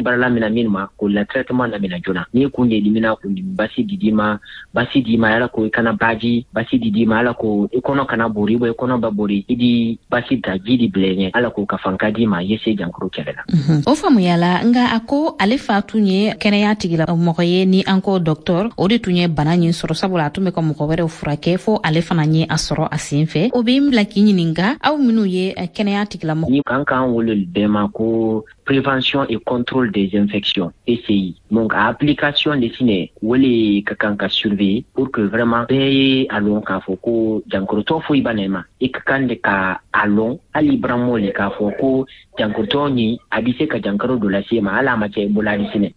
Baara lamina min ma k'o la traitement lamina joona. N'i kun de dimina, kun dimi basi di d'i ma, basi d'i ma ala ko i kana baji basi di d'i ma, ala ko i kɔnɔ kana bori, i kɔnɔ ba bori, i di basi ta ji di bila ɲɛ, ala ko ka fanka d'i ma, i ye se jankaro kɛlɛ la. O faamuyala. Nga a ko ale fa tun ye kɛnɛya tigila mɔgɔ ye, ni an ko docteur, o de tun ye bana ɲin sɔrɔ, sabula a tun bɛ ka mɔgɔ wɛrɛw furakɛ, fo ale fana ye a sɔrɔ a sen fɛ. O bɛ n bila k'i ɲininka, aw minnu ye kɛnɛya tigilamɔgɔ ni kan k'an wele bɛɛ ma ko prévention et contrôle des infections, PCI. Donc application de sinɛ wele ka kan ka surveiller pour que vraiment bɛɛ ye a lɔn k'a fɔ ko jankorotɔ foyi b'a na i ma. I ka kan de ka a lɔn, hali baramɔ le, k'a fɔ ko jankorotɔ ni a bɛ se ka jankaro dɔ lase ma, hali a ma kɛ Ebola di sinɛ.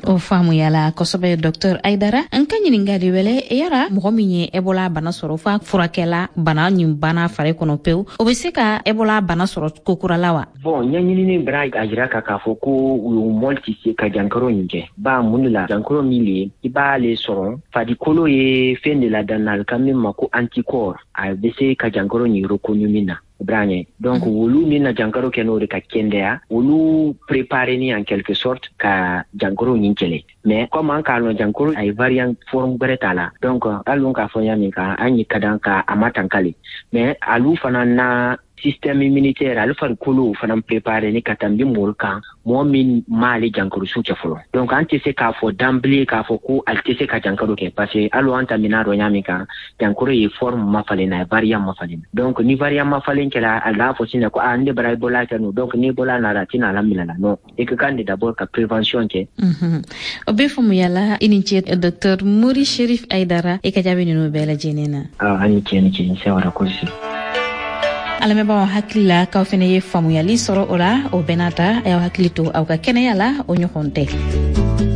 O faamuyala kosɛbɛ, docteur Aidara. N ka ɲininkali wɛlɛ: yara mɔgɔ min ye Ebola bana sɔrɔ, f'a furakɛla, bana ɲin banna fari kɔnɔ pewu, o bɛ se ka Ebola bana sɔrɔ kokura la wa? Bon, ɲɛɲinini bara a jira ka k'a fɔ ko u mɔli tɛ se ka jankaro nin kɛ ba. Mun de la? Jankaro min le i b'ale sɔrɔ, farikolo ye fɛn de ladanna ka min ma ko anticorps, a bɛ se ka jankaro nin reconnu min na branye. Donc wolu min na jankaro kɛ, n'o de ka kɛndɛya, olu préparé ni en quelque sorte ka jankaro nin kɛlɛ. Mais comme an k'a lɔn, jankaro a ye variant forme gwɛrɛ t'a la. Donc hali k'a fɔ ɲa min kan, an ye ka dan ka a matankale, mais alu fana na système immunitaire, ale farikolo fana préparé ni ka tanbi mɔlu kan, mɔgɔ min m'ale jankaro su kɛ fɔlɔ. Donc an tɛ se k'a fɔ d'emblée k'a fɔ ko ale tɛ se ka jankaro kɛ, parce que hali an ta mina dɔ ɲa min kan, jankaro ye forme ma falen na, variant ma falen. Donc ni variant ma falen kɛra, a l'a fɔ sisan ko ah, ne bara Ebola kɛ no, donc ni Ebola nana, a tɛna la minɛ la. Non, i ka kan de d'abord ka prévention kɛ. O bɛ faamuyala. I ni ce, docteur Mori Sherif Aidara, i ka jaabi ninnu bɛɛ lajɛlen na. Ah, an ni ce, ni ce, n sewara kosi. Alamɛnbaaw hakili la k'aw fɛnɛ ye faamuyali sɔrɔ o la. O bɛɛ n'a ta, a y'aw hakili to aw ka kɛnɛya la, o ɲɔgɔn tɛ.